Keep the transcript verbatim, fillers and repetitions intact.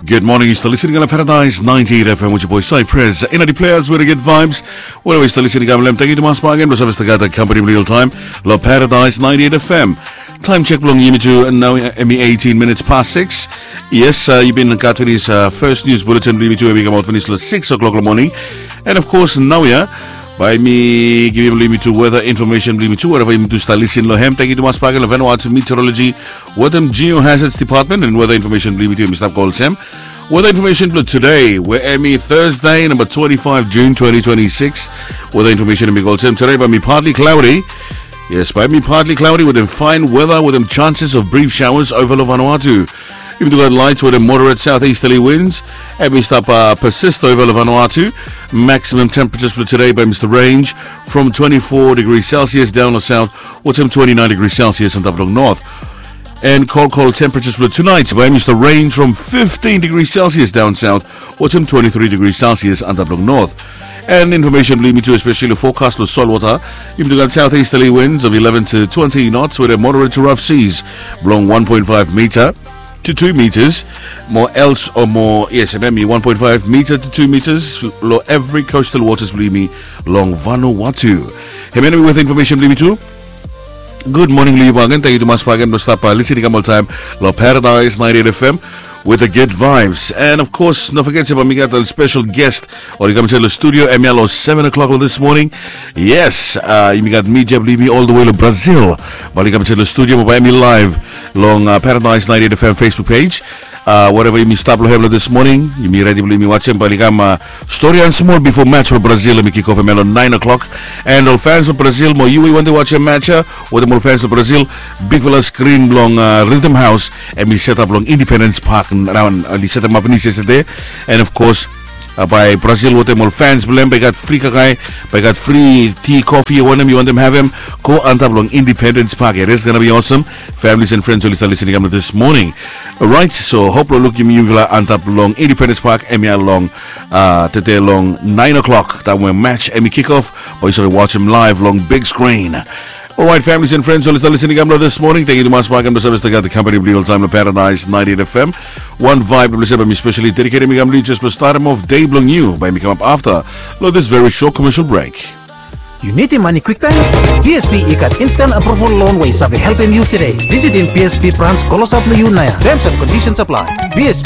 Good morning, yu stap listening long Paradise ninety-eight F M with your boy Cypress. Ina di players with the good vibes. Wherever yu stap listening, I'm Lem. Thank you to Mas Pagan, Mas Avesta Gata, company real time. Lo Paradise ninety-eight F M. Time check blong yumi tu nao, hemi eighteen minutes past six. Yes, uh, yu bin gat finis, uh, first news bulletin blong yumi tu, hemi kamaot finis lo six o'clock lo morning. And of course, naoia bae mi givim blong yumi tu weather information blong yumi tu, wherever yumi tu stap listening lo hem. Thank you to Mas Pagan lo Vanuatu Meteorology wetem Geohazards Department, and weather information blong yumi tu hemi stap go olsem. Weather information blong today, we hemi Thursday, number twenty-five June twenty twenty-six. Weather information hemi go olsem, today bae hemi partly cloudy. Yes, bae hemi partly cloudy wetem fine weather wetem chances of brief showers ova lo Vanuatu. Yumi tu gat light wetem moderate southeasterly winds. Hemi stap, uh, persist ova lo Vanuatu. Maximum temperatures blong today bae hemi stap range from twenty-four degrees Celsius down lo south wetem twenty-nine degrees Celsius antap long north. And cold, cold temperatures blong tonight bae hemi stap range from fifteen degrees Celsius down south wetem twenty-three degrees Celsius antap long north. And information blong yumi tu, especially forecast lo solwota, yumi tu gat southeasterly winds of eleven to twenty knots wetem moderate to rough seas blong one point five meter to two meters. Mo else o mo, yes, hemi one point five meter to two meters lo evri coastal waters blong yumi long Vanuatu. Hemia nao hemi weather information blong yumi tu. Good morning long yu bakegen. Thank you to Mas Pagan blong stap, uh, listening kam oltaem lo Paradise ninety-eight F M with the good vibes. And of course, no forget se bae mi gat ol special guest oli kam insaed lo studio hemia lo seven o'clock lo this morning. Yes, uh, yumi gat media blong yumi all the way lo Brazil bae oli kam insaed lo studio, mo bae hemi live long, uh, Paradise ninety-eight F M Facebook page. Uh, wherever yumi stap lo hem lo this morning, yumi redi blong yumi wajem bae oli kam, uh, storian smol bifo match blo Brazil hemi kick off hemia lo nine o'clock. And ol fans blo Brazil, mo yu we yu wantem wajem match ya wetem ol fans blo Brazil, bigfala screen blong, uh, Rhythm House hemi setap long Independence Park nao, oli setemap finis yestede. And of course, uh, bae Brazil wetem ol fans blong hem bae gat fri kakae, bae gat fri ti, kofi, wanem yu wantem havem, go antap long Independence Park. It is gonna be awesome. Families and friends oli stap listening kam lo this morning. Alright, so hope lo lukim yufala antap long Independence Park hemia long, uh, tede long nine o'clock, taem we match hemi kick off, bae yu save wajem live long big screen. Alright, families and friends oli stap listening kam lo this morning, thank you to Mas Pagan blong stap gat the company blong yu oltaem lo Paradise ninety-eight F M. Wan vibe blong yumi, especially dedicated hemi kam lo yu, jes blong starem off dei blong yu, bae hemi kamap afta lo this very short commercial break. Yu nidim mane kwiktaem? B S B i gat instant approval loan we i save helpem yu tede. Visitim B S B branch klosap lo yu naoia. Terms and conditions apply. B S